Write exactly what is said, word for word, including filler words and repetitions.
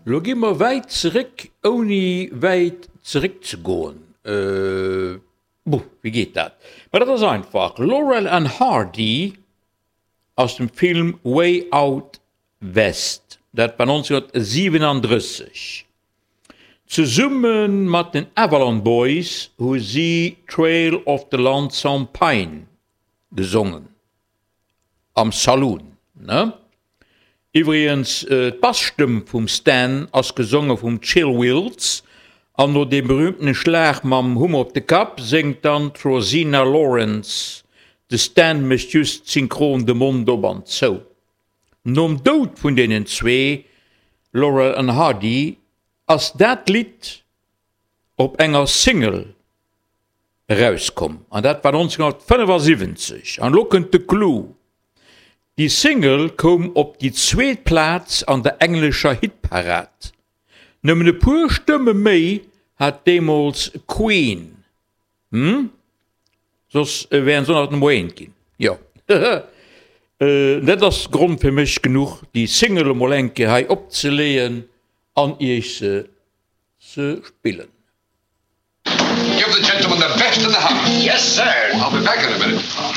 Lo gi mer wäit zeréck, ouni wäit zeréck ze goen. Buh, wéi geet dat? Ma dat ass einfach, Laurel and Hardy aus dem Film Way Out West, dat war nonzénhunnertsiwenandrësseg. Zesumme mat den Avalon Boys hu si Trail of the Lonesome Pine gesongen, am Saloon, ne? Iwwregens, d'Bassstëmm vum Stan ass gesonge vum Chill Wills, an no deem berühmtene Schlag mam Hummer op de Kapp séngt dann d'Rosina Lawrence, de Stan mécht just synchron de Mond op an zou. Nom Doud vun deenen zwee, Laurel an Hardy, ass dat Lidd op enger Single erauskomm, an dat war nonzénhunnertfënnefasiwwenzeg. An elo kënnt de Clou, Déi Single koum op déi zweet Plaz an der englescher Hitparad. Nëmmen e puer Stëmme méi hat deemools Queen. Hm? Soss wären se och nach Nummer eent ginn. Jo. Dat ass Grond fir mech genuch, déi Single emol eng Kéier hei opzeleeën an iech se ze spillen. Give the gentleman the best in the house. Yes, sir. I'll be back in a minute.